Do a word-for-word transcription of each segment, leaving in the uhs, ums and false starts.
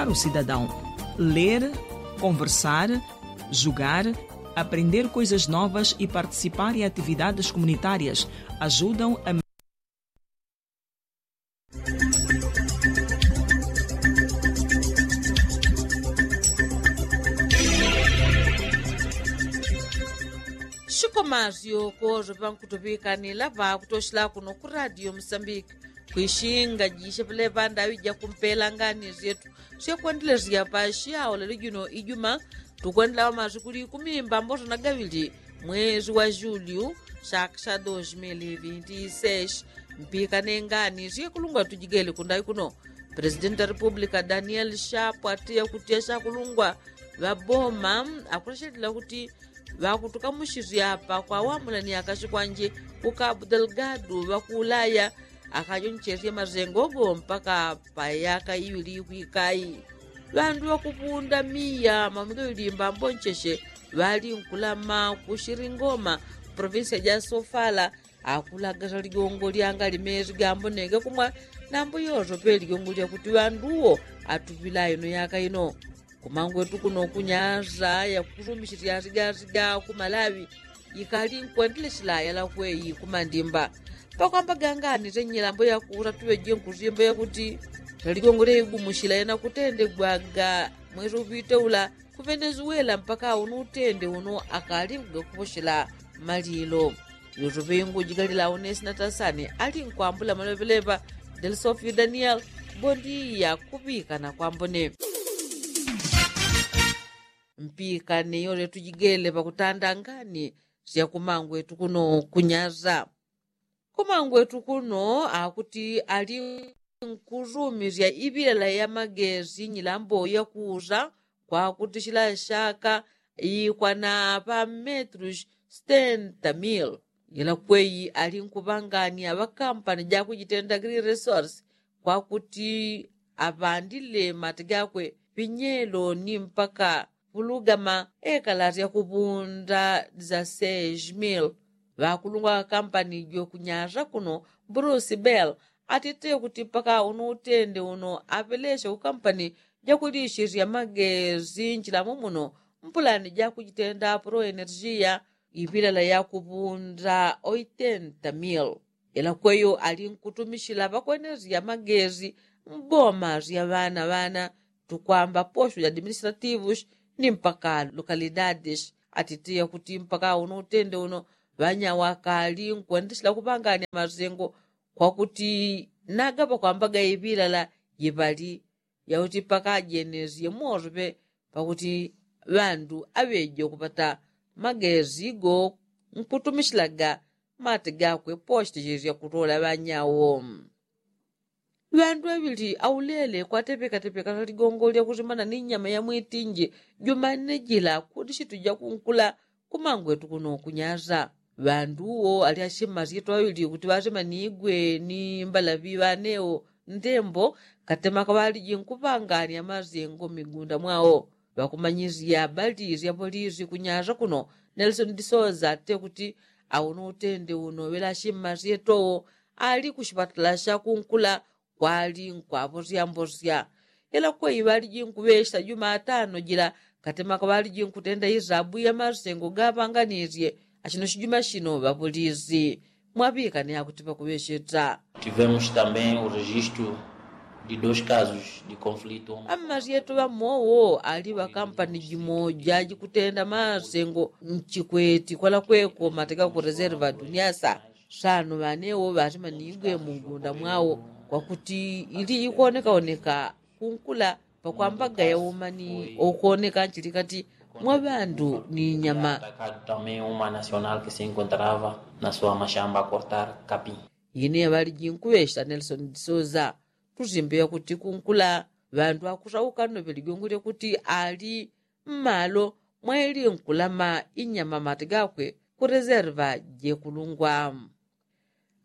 O cidadão. Ler, conversar, jogar, aprender coisas novas e participar em atividades comunitárias ajudam a Shikomasyo kozo pankutupikani lapa kutoshila kuno ku radio musambiki. Kwishinga jishe pele pandawi jakumpela ngani zyetu syekwendelesya pashi awo lelo jino ijuma. Tukwendela wamasikuli kumimba mboso na gawili mwezi wa julyu saka sya dos mil vinti seis. Mpikane ngani syekulungwa tujigele kundawi kuno. Presidenti wa republika daniel shapu atiya kuti asyakulungwa ŵaboma akuleshelila kuti ŵakutukamushisya apa kwawamulani akashi kwanje ku kabu delgadu ŵakuulaya akajonchesye masengo go mpaka pa yaka iŵili ikwikayi. Ŵandu ŵakupunda miya maumi gaŵili mbambo ncheshe ŵalinkulama ku shiringoma provinsia ja sofala. Akulagasya ligongo lyanga limezi gambo nenge kumwa nambo yoso pe ligongo lyakuti ŵandu wo atuŵila ino yaka ino. Kumangwetu kuno kunyasa yakusumisisya sigasiga kumalaŵi ikali nkwendelesila yalakweyi kumandimba. Pakwamba gangani se nyilambo yakusa tuŵeje nkusimba yakuti saligongo lyaigumusila yanakutendegwaga mwesi upite ula ku venezuela mpaka uno utende uno akali kugakuposhela malilo. Yoso pe ingujigalila unesi na tasani ali nkwambula malopelepa. Delsofio daniel. Bondiya kuŵikana kwambone. Mpikane yose tujigele pakutanda ngani syakumangwetu kuno kunyasa. Kumangwetu kuno akuti ali nkusumisya iŵilala ya magesi nyilambo yakusa kwakuti shila shaka ikwana pa metrus stenta mil. Yelakweyi ali nkuŵangania ŵakampani jakujitenda green resource kwakuti aŵandile mati gakwe pinyelo ni mpaka pulugama ekalasya kupunda dza seis mil. Ŵakulungwa ŵakampani jokunyasa kuno bruce bell atite kuti mpaka uno utende uno aŵelesya kukampani jakulishisya magesi nchilamo muno mpulani jakujitenda pro energia iŵilala yakupunda oitenta mil. Yelakweyo ali nkutumishila ŵakwenezya magesi mboma sya ŵana ŵana tukwamba posho ya administrativus ni mpaka lokalidadis. Atitiya kuti mpaka uno utende uno ŵanyawo akali nkwendesela kupangania masengo kwakuti nagaŵa kwambaga iŵilala yiŵali yauti pakajenesye moso pe pakuti ŵandu aŵeje kupata magesi go nkutumishilaga mati gakwe posho tishisya kutola ŵanyawo. Ŵandu ŵaŵili aulele kwatepekatepeka ligongo lyakusimana ni nyama ya mwitinji jumanne jila kuti shituja kunkula kumangwetu kuno kunyasa. Ŵandu uwo ali ashima syetu ŵaŵili kuti ŵasemanigwe ni mbalaŵi ŵanewo ndembo katemaka ŵaliji nkupangania masengo mmigunda mwawo. Ŵakumanyisya ŵaliji sya polisi kunyasa kuno nelson disoza ate kuti auno utende uno ŵelashima syetowo ali kushipatala sha kunkula kwali nkwaposyamposya. Yelakweyi ŵaliji nkuŵesha jumatano jila katemaka ŵaliji nkutenda isabu ya masengo gaŵanganisye. Ashino shijuma shino ŵapolisi mwaŵikane akuti ŵakuŵesheta. Tivemos também o registo de dos casos de conflito. Ammasyetu ŵamowo ali ŵakampani jimoja jikutenda masengo nchikweti kwalakweko mateka ku reserva duniasa. Sano ŵanewo ŵasimanigwe mungunda mwawo kwakuti ili ikuonekaoneka kunkula pakwambaga yaumani okuoneka nchilikati mwa ŵandu ni nyama. Também uma nacional que se encontrava na sua mashamba a cortar capim. Ine yaŵaliji nkuŵesha nelson disoza tusimbe yakuti kunkula ŵandu akusauka nno ŵelijongo lyakuti ali mmalo mwaili nkulama inyama mati gakwe ku reserva jekulungwa.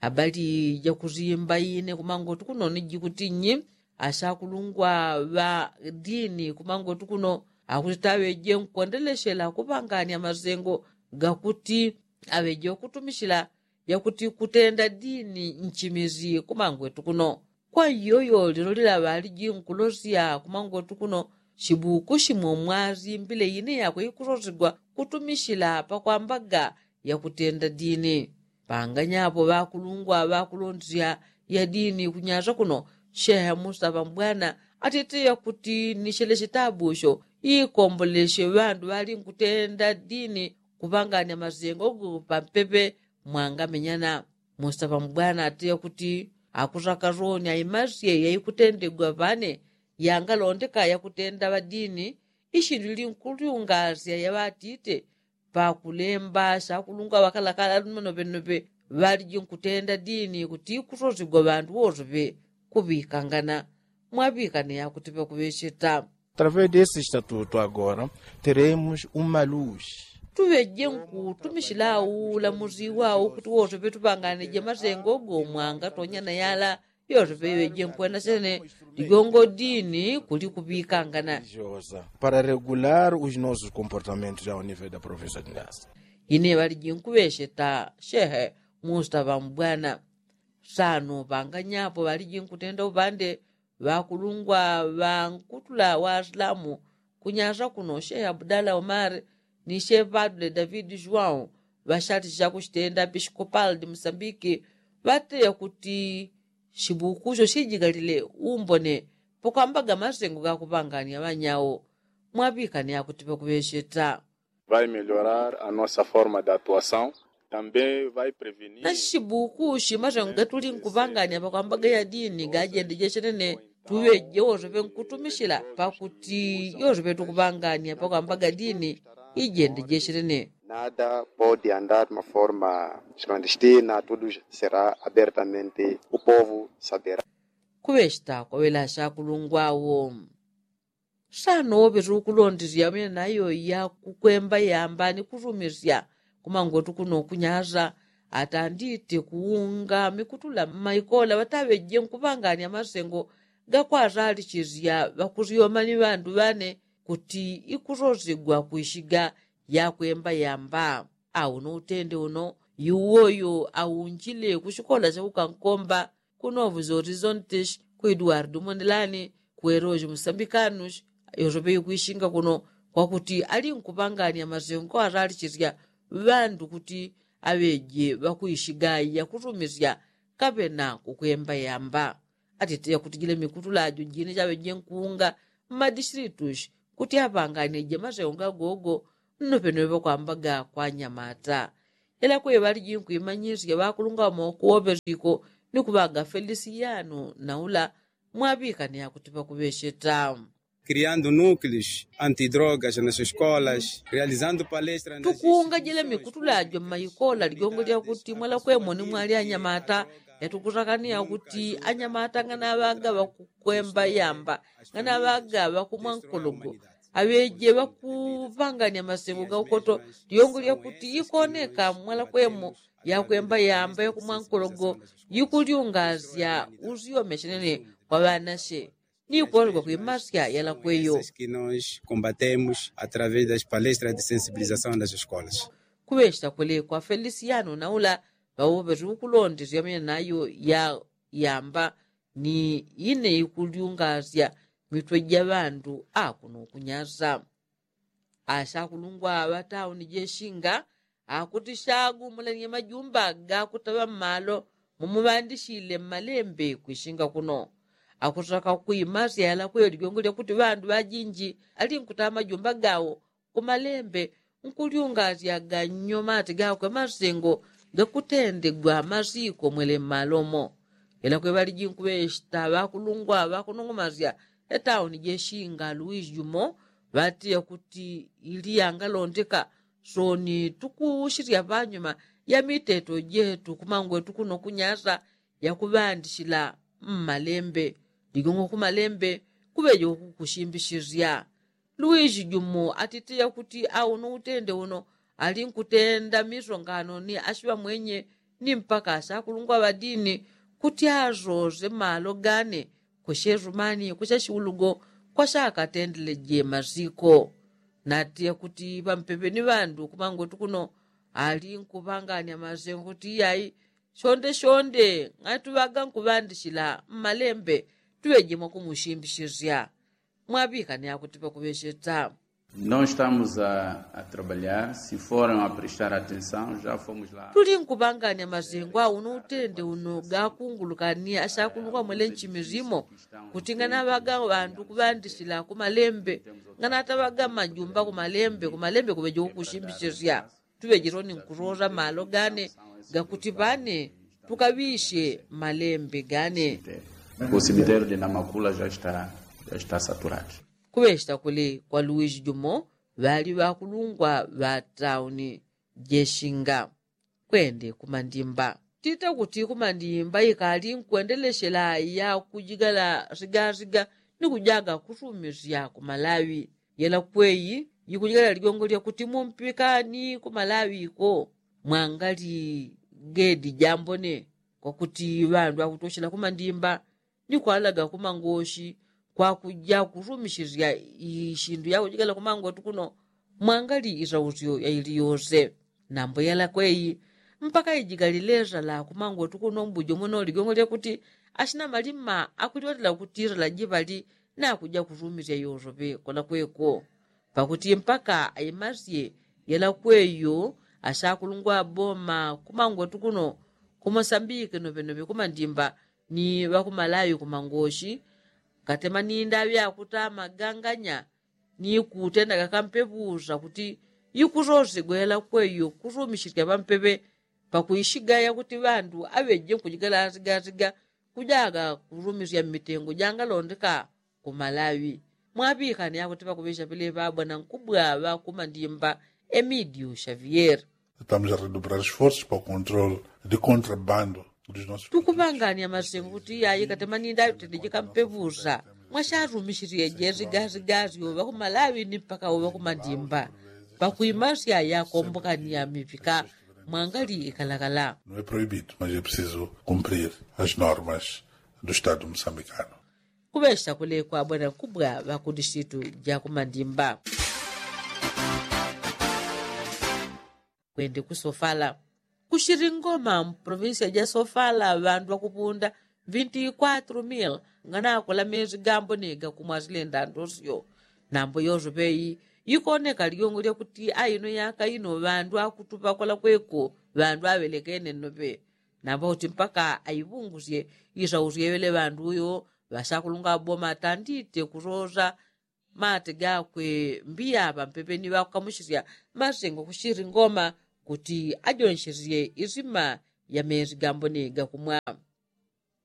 Abali jakusimba ine kumangotu kuno ni jikuti nyi ashakulungwa ŵa dini kumangotu kuno akuti taŵeje nkwendeleshela kupangania masengo gakuti aŵeje kutumishila yakuti kutenda dini nchimisi kumangwetu kuno. Kwa iyoyo lilo lila ŵaliji nkulosya kumangwetu kuno shibuku shimo mwasimbile ine yakwe ikusosigwa kutumisila pakwambaga yakutenda dini. Panganyapo ŵakulungwa ŵakulondisya ya dini kunyasa kuno shehe musa ŵambwana atitiya kuti ni shele shitabu sho ikombolesye ŵandu ŵali nkutenda dini kuŵanganya masengo gu pampepe mwangamenyana. Musa ŵambwana atiya kuti akusaka soni aimasye yaikutendegwa ŵane yangalondeka yakutenda ŵadini ishindu ili nkulyungasya yaŵatite pakulemba shakulungwa ŵakalakala lumenopenupe ŵaliji nkutenda dini kuti ikusosigwa ŵandu wosope kuŵikangana. Mwaŵikane yakuti ŵakuŵecheta. Através desse estatuto agora teremos uma luz. Tuŵeje nkutumishila aula musi wau kuti wosope tuŵanganije masengo gomwanga tonyana yala yosope iŵeje nkwena sene ligongo dini kuli kuŵikangana. Para regular os nossos comportamentos ao nível da província de ngasa. Ine ŵaliji nkuŵecheta shehe musa ŵambwana. Sano panganyapo ŵaliji nkutenda upande ŵakulungwa ŵankutula ŵasilamu kunyasa kuno shehe abudala omar ni shehe padule david juwau ŵashalisya kushitenda episikopal di musambiki ŵateya kuti shibuku sho shijigalile umbone pakwambaga masengo gakuŵanganya ŵanyau. Mwaŵikane akuti ŵakuŵecheta. Vai melhorar a nossa forma de atuação. Também vai prevenir na shibuku shimasengo gatuli nkuŵanganya pakwambaga ya dini gajendeje shenene tuŵeje wosope nkutumishila pakuti yosope tukuŵanganya pakwambaga dini ijendeje shenene. Nada pode andar de uma forma clandestina tudo será abertamente o povo saberá. Kuŵecheta kwaŵela shakulungwa wo. Sano woŵetu kulondisya ŵamene nayo yakukwemba yamba ni kusumisya kumangwetu kuno kunyasa atandite kuunga mikutula mmaikola ŵataŵeje nkuŵanganya masengo gakwasalisisya ŵakusyoma ni ŵandu ŵane kuti ikusosigwa kwishiga yakwemba yamba. Auno utende uno yuwoyo aunjile kushikola shakukankomba kunovu zorizontes ku eduardo mondelani ku eroji musambikanus yosope ikwishinga kuno kwakuti ali nkuŵanganya masengo asalisisya ŵandu kuti aŵeje ŵakuishiga yakusumisya kaŵena kukwemba yamba. Atite yakutijile mikutula ajo jine jaŵeje nkuunga mmadisilitus kuti aŵanganije masengo gagogo nnopenope pakwambaga kwa anyamata. Ela kwe ŵaliji nkwimanyisya ŵakulunga ŵamoko woŵesiko ni kuŵaga felisiyano naula mwaŵikane akuti ŵakuŵecheta. Criando núcleos antidrogas nas escolas realizando palestras tukuunga jele mikutula jo mmaikola ligongo lyakuti mwalakwemo ni mwali anyamata yatukusakaniya kuti anyamata nganaŵaga ŵakukwemba yamba nganaŵaga ŵakumwa nkologo aŵeje ŵakuŵanganya masengo ga ukoto. Ligongo lyakuti ikoneka mwalakwemo yakwemba yamba yakumwa nkologo yikulyungasya usyome shenene kwa ŵanashe ni kuŵaluga kwimasya yalakweyo. Kuŵecheta kwele kwa felisiyano naula ŵaŵoŵeti ukulondesya ŵamene nayo yamba ni ine ikulyungasya mitwe ja ŵandu akuno kunyasa. Ashakulungwa ŵa tauni jeshinga akuti shagumulanye majumba gakutaŵa mmalo mumuŵandishile mmalembe kwishinga kuno. Akusaka kwimasya yalakweyo ligongo lyakuti ŵandu ŵajinji ali nkutaŵa majumba gawo kumalembe nkulyungasya ganyomati gakwe masengo gakutendegwa masiko mwele mmalomo. Ela kweŵaliji nkuŵeshita ŵakulungwa ŵakunung'umasya etauni jeshinga luwisi jumo ŵatiya kuti ili yangalondeka soni tukushilya panyuma ya miteto jetu kumangwetu kuno kunyasa yakuŵandishila mmalembe. Ligong'o kumalembe kuŵeje kukushimbishilya luwisi jumo atitiya kuti auno utende uno ali nkutenda misongano ni ashiŵa mwenye ni mpaka ashakulungwa ŵadini kuti asose malo gane kushe sumani kushe shiulugo kwashakatendeleje masiko. Natiya kuti ŵampepe ni ŵandu kumangwetu kuno ali nkupanganya masengo kuti iyai shonde shonde ng'atuŵaga nkuŵandishila mmalembe tuŵeje mwakumushimbichizya. Mwaŵikane akuti pakuŵecheta. Nós estamos a trabalhar se foram a prestar atenção já fomos lá. Tuli nkuŵangania mazengo auno utende uno gakungulukani ashakulungwa mwele nchimizimo kuti nganaŵaga ŵandu kuŵandishila kumalembe nganataŵaga majumba kumalembe kumalembe kuŵeje kukushimbishizya. Tuŵejironi nkurola malo gane gakuti ŵane tukaŵishe malembe gane. O cemitério de namakula já está já está saturado. Kuŵecheta kuli kwa luwiji jumo ŵali ŵakulungwa ŵa tauni jeshinga kwende kumandimba tita kuti kumandimba ikali nkwendelechela ya kujigala sigashiga ni kujaga kusumisya kumalawi. Yela kweyi yikujigala ligongo lyakuti mumpikani kumalawi ko mwangali gedi jambone kwakuti ŵandu akutoshela kumandimba ni kwalaga kumangoshi kwakuja kusumisizya ishindu yakujigala kumangwetu kuno mwangali isausyo yaili yose. Nambo yela kweyi mpaka ijigalile sala kumangwetu kuno mbujo mweno ligongo lyakuti ashina malima akuliwatila kuti sala jipali nakuja kusumisya yosope kola kweko pakuti mpaka aimasye yela kweyo ashakulungwa boma kumangwetu kuno kumosambike novenovi kumandimba ni ŵakumalawi kumangoshi katema ni ndaŵi akutama ganganya ni kutenda gakampeŵusa kuti ikusosegwela kweyo kusumisisya ŵampeŵe pakuishigaya kuti ŵandu aŵeje nkujigala asigasiga kujaga kusumisya mmitengo jangalondeka kumalawi. Mwaŵikane akuti pakuŵesya peleŵa ŵanankubwa ŵakumandimba emidio xavier. Estamos a redobrar esforsos para o controle de contrabando. Tukuŵangania masengo kuti yayi katema ni ndaŵi tende jikampeŵusa mwashasumisirye jesigasgasyo ŵakumalawi ni mpaka uŵakumandimba pakuimasya yakombokania mipika mwangali ikalakala. Não é proibido mas é preciso cumprir as normas do estado mosambicano. Kuŵesya kulekwa ŵanankubwa ŵakudisitu jakumandimba. Kwende kusofala kushiri ngoma mprovinsia jasofala ŵandu ŵakupunda vinti kwatru mil nganakola mezi gambo ni gakumwa silenda ndosyo. Nambo yosope iyi ikoneka ligongo lyakuti aino yaka ino ŵandu akutupa kola kweko ŵandu aŵelekene nnope. Nambo kuti mpaka aiŵungusye isausye ŵele ŵandu uyo ŵasakulunga ŵaboma atandite kusosa mate gakwe mbiya ŵampepe ni ŵakukamusisya masengo kushiri ngoma kuti ajonshesye isima ya mezi gambone gakumwa.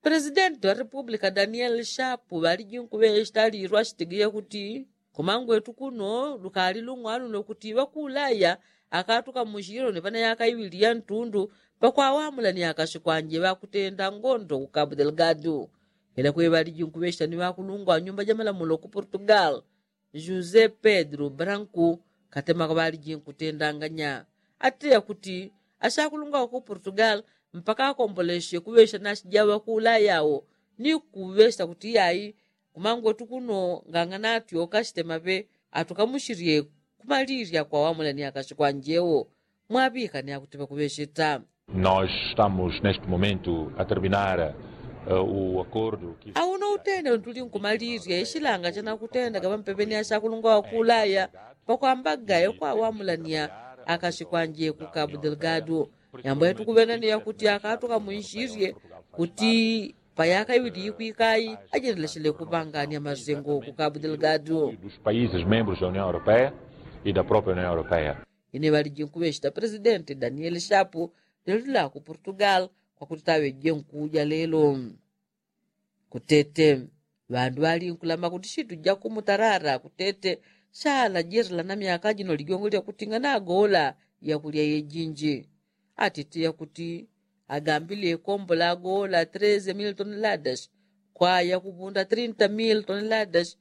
Presidenti wa repupulika danieli shapu ŵaliji nkuŵechita lilwa shitegeye kuti kumangwetu kuno lukali lung'waluno kuti ŵakulaya akatuka mushilo ni ŵanayaka iŵili ya ntundu pakwawamula ni akasikwanje ŵakutenda ngondo ku kabu delgadu. Ila kweŵaliji nkuŵechita ni ŵakulungwa wa nyumba ja malamulo ku portugal josé pedro branku katema kaŵaliji nkutendanganya. Ateya kuti asakulungwa wa ku portugal mpaka akombolesye kuŵesya nasi ja ŵakulaya awo ni kuŵesya kuti yayi kumangwetu kuno ngangana atyoka sitemaŵe atukamusirye kumalirya kwawamula ni akasikwanje wo. Mwaŵika ni akuti ŵakuŵeseta. Nós estamos neste momento a terminar o acordo. Auno utenda untuli nkumalirya isilanga chanakutendaga ŵampepeni asakulungwa wakulaya pakwambaga yakwawamulania akasikwanje ku kabu delgado. Yambo yatukuŵena ni yakuti akatukamunsirye kuti payaka iŵili ikwikayi ajendelesele kupangania masengo ku kabu delgado. Dos países membros da união europeia e da própria união europeia. Ine ŵaliji nkuŵechita presidenti danieli shapu lelo lila ku portugal kwakuti taŵeje nkuja lelo. Kutete ŵandu ŵali nkulama kuti shitu ja kumutarara kutete shala jerela na myaka jino ligongo lyakuti nganagola yakulya yejinji. Atite yakuti agambile kombola agola treze mil toneladas kwa yakupunda trinta mil toneladas.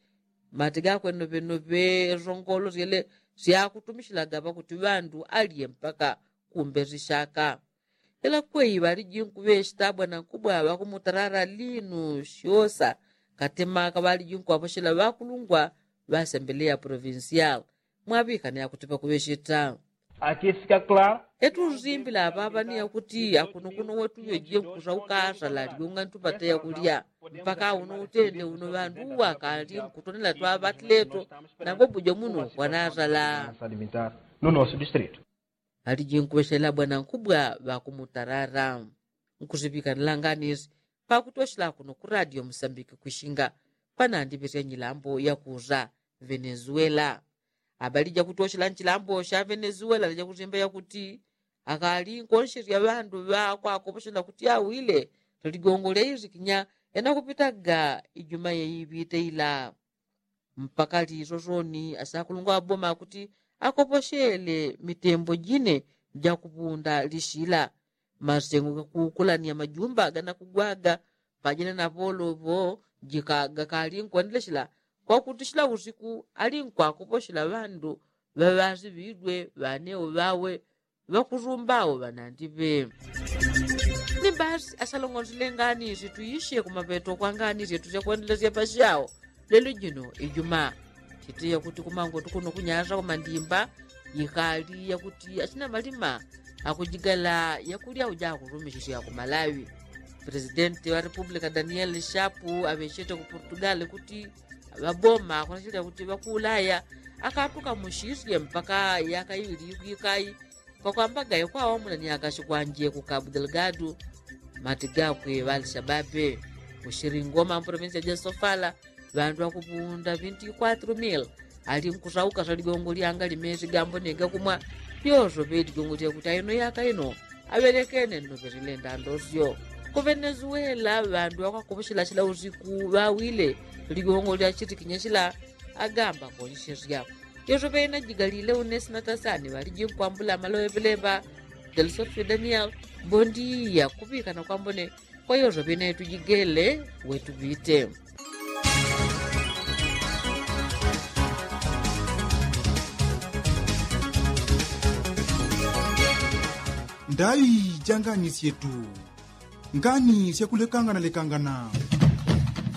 Mati gakwe noŵenoŵe songolo syele syakutumishilaga ŵakuti ŵandu alye mpaka kumbe sishaka. Ila kweyi ŵaliji nkuŵechita ŵanankubwa ŵakumutarara linu syosa katema kaŵaliji nkuŵaposhela ŵakulungwa ŵasembeleya provincial. Mwaŵikane akuti pakuŵecheta. Aqui fica claro. Etuzimbila apapa ni yakuti akunokuno wetuyo je nkusauka asala ligonga ntupata yakulya. Mpaka uno utende uno ŵandu wakali nkutonela twaŵatileto. Nagobujo muno kwanasala. Alijinkubeshela bwanankubwa ŵakumutarara. Nkusiŵikanila nganisi pakutoshela kuno ku radio musambiki kwishinga panandiŵesya nyilambo yakuza venezuela. Abalija kutoshela nchilambo sha venezuela lija kuzimba yakuti akali nkonsherya ŵandu ŵakwakoposhela kuti awile ligongo lya izikinya yanakupitaga ijuma yeiŵite ila. Mpaka lisosoni asakulungwa ŵaboma kuti akoposhele mitembo jine jakuŵunda lishila. Masengo gakukulania majumba ganakugwaga pajina na ŵolovo jika gakali nkwendeleshela kwakuti shila usiku ali nkwakoposhela ŵandu ŵaŵasiŵidwe ŵaneo ŵawe ŵakusumbao ŵanandiŵe. Ni basi asalongonsile nganisi tuishe kumaŵeto kwa nganisi etu syakwendelesya pashao. Lelo jino ijuma chitiya kuti kumango tukuno kunyasa kumandimba yikali yakuti achina malima akujigala yakulya uja akusumishisya kumalawi. Presidenti wa republika daniel shapu aŵechete ku portugal kuti ŵaboma akunachilya kuti ŵakuulaya akatukamushisye mpaka yaka iŵili yikuikai. Pakwamba gayo kwawamuna ni akashi kwanje ku kabu delgado. Mati gakwe ŵalishababe kushiri ngoma mprovinsia ja sofala ŵandu ŵakupunda vinti kwatru mil. Ali nkusauka swaligongo lyanga limesi gambo ni gakumwa. Yoso ŵeligongo lyakuti aino yaka ino aŵelekene nno ŵesilenda ndosyo. Ku venezuela ŵandu ŵakwakoposhela shila usiku ŵawile ligongo lyachitikinya shila. Agamba konshesya yoso ŵenajigalile unesi na tasani ŵaliji nkwambula amaloŵe ŵeleŵa. Delsofio daniel. Bondiya kuŵikana kwambone kwa yoso ŵenaitujigele. Wetuŵite. Ndai ja ngani syetu. Ngani syakulekangana lekangana.